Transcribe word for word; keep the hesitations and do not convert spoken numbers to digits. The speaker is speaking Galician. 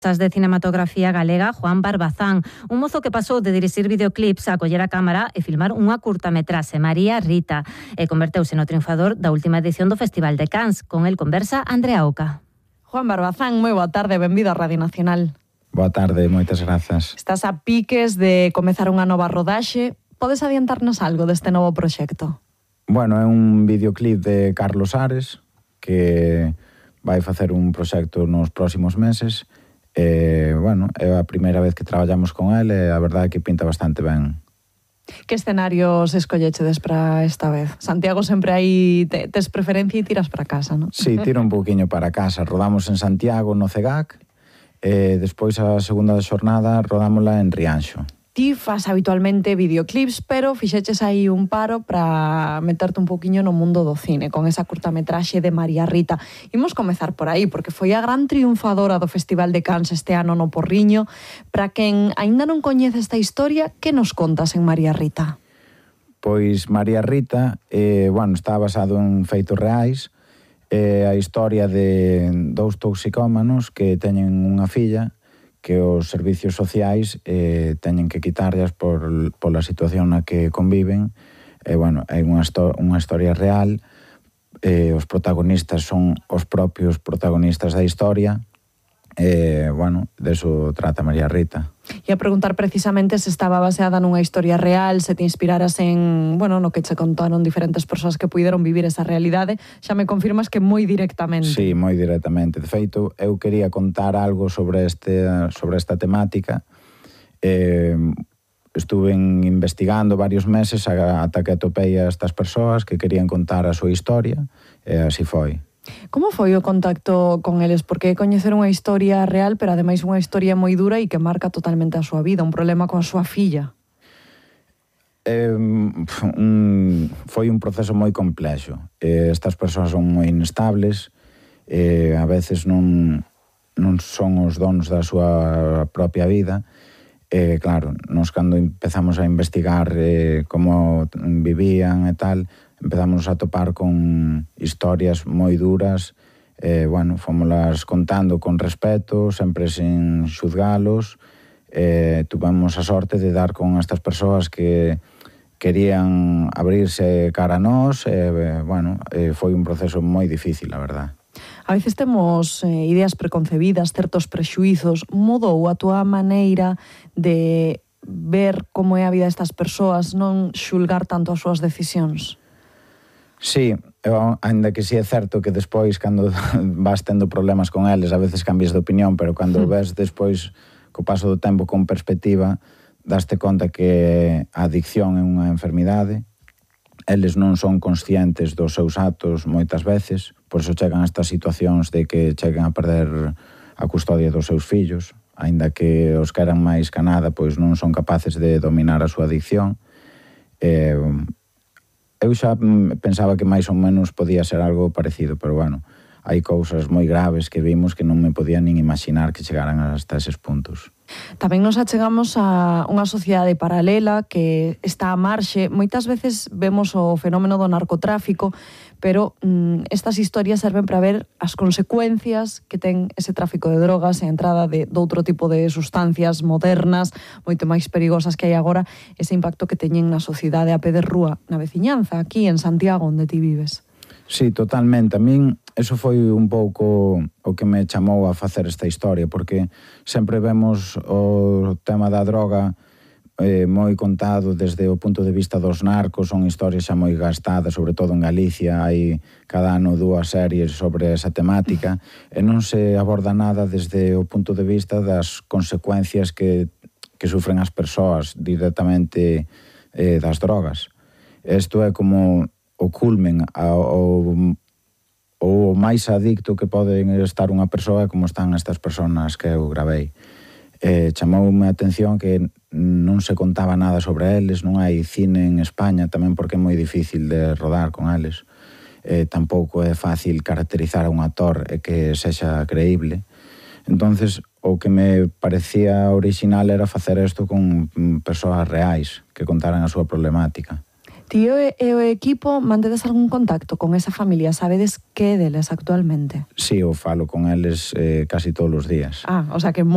de cinematografía galega Juan Barbazán, un mozo que pasou de dirixir videoclips a coller a cámara e filmar unha curtametraxe, María Rita, e converteuse no triunfador da última edición do Festival de Cannes. Con el conversa Andrea Oca. Juan Barbazán, moi boa tarde, benvido a Radio Nacional. Boa tarde, moitas grazas. Estás a piques de comezar unha nova rodaxe. Podes adiantarnos algo deste novo proxecto? Bueno, é un videoclip de Carlos Ares que vai facer un proxecto nos próximos meses. E, bueno, é a primeira vez que traballamos con ele e a verdade é que pinta bastante ben. Que escenarios escollechedes para esta vez? Santiago sempre aí te, tes preferencia e tiras para casa, non? Sí, tiro un pouquiño para casa. Rodamos en Santiago, no C E G A C, e despois a segunda xornada rodámola en Rianxo. Ti fas habitualmente videoclips, pero fixeches aí un paro para meterte un pouquiño no mundo do cine, con esa curtametraxe de María Rita. Imos comezar por aí, porque foi a gran triunfadora do Festival de Cannes este ano no Porriño. Para quen aínda non coñece esta historia, que nos contas en María Rita? Pois María Rita, eh, bueno, está basado en feitos reais, eh, a historia de dous toxicómanos que teñen unha filla que os servicios sociais eh, teñen que quitarlas por, pola situación na que conviven. E, bueno, é unha, unha historia real. Eh, os protagonistas son os propios protagonistas da historia. E, bueno, deso trata María Rita. E a preguntar precisamente se estaba baseada nunha historia real, se te inspiraras en, bueno, no que che contaron diferentes persoas que puideron vivir esa realidade. Xa me confirmas que moi directamente. Sí, moi directamente. De feito, eu quería contar algo sobre este sobre esta temática. Eh, estuve investigando varios meses ata que atopei a estas persoas que querían contar a súa historia, e así foi. Como foi o contacto con eles? Porque coñecer unha historia real, pero ademais unha historia moi dura e que marca totalmente a súa vida, un problema coa súa filla. Eh, un, foi un proceso moi complexo. Eh, estas persoas son moi inestables, eh, a veces non, non son os donos da súa propia vida. Eh, claro, nos cando empezamos a investigar eh, como vivían e tal, empezamos a topar con historias moi duras. Eh, bueno, fómolas contando con respeto, sempre sin xuzgalos. Eh, tuvemos a sorte de dar con estas persoas que querían abrirse cara a nós. Eh, bueno, eh, foi un proceso moi difícil, a verdad. A veces temos eh, ideas preconcebidas, certos prexuizos. Mudou a túa maneira de ver como é a vida destas persoas, non xulgar tanto as súas decisións? Sí, eu, ainda que sí é certo que despois, cando vas tendo problemas con eles, a veces cambias de opinión, pero cando ves despois, co paso do tempo con perspectiva, daste conta que a adicción é unha enfermidade. Eles non son conscientes dos seus actos moitas veces, por iso chegan a estas situacións de que chegan a perder a custodia dos seus fillos, aínda que os queran máis que nada, pois non son capaces de dominar a súa adicción. Eh, eu xa pensaba que máis ou menos podía ser algo parecido, pero bueno, hai cousas moi graves que vimos que non me podía nin imaginar que chegaran hasta eses puntos. Tamén nos achegamos a unha sociedade paralela que está a marxe. Moitas veces vemos o fenómeno do narcotráfico, pero mm, estas historias serven para ver as consecuencias que ten ese tráfico de drogas e a entrada de, de outro tipo de sustancias modernas, moito máis perigosas que hai agora, ese impacto que teñen na sociedade a pé de rúa, na veciñanza, aquí en Santiago, onde ti vives. Sí, totalmente. A min, eso foi un pouco o que me chamou a facer esta historia, porque sempre vemos o tema da droga eh, moi contado desde o punto de vista dos narcos, son historias xa moi gastadas, sobre todo en Galicia, hai cada ano dúas series sobre esa temática, e non se aborda nada desde o punto de vista das consecuencias que, que sufren as persoas directamente eh, das drogas. Isto é como o culmen, o, o máis adicto que pode estar unha persoa como están estas personas que eu gravei. Eh, chamoume a atención que non se contaba nada sobre eles, non hai cine en España, tamén porque é moi difícil de rodar con eles. Eh, tampouco é fácil caracterizar a un actor e que sexa creíble. Entonces, o que me parecía original era facer isto con persoas reais que contaran a súa problemática. Tío e o equipo, mantedes algún contacto con esa familia? Sabedes que deles actualmente? Sí, eu falo con eles eh, casi todos os días. Ah, o sea que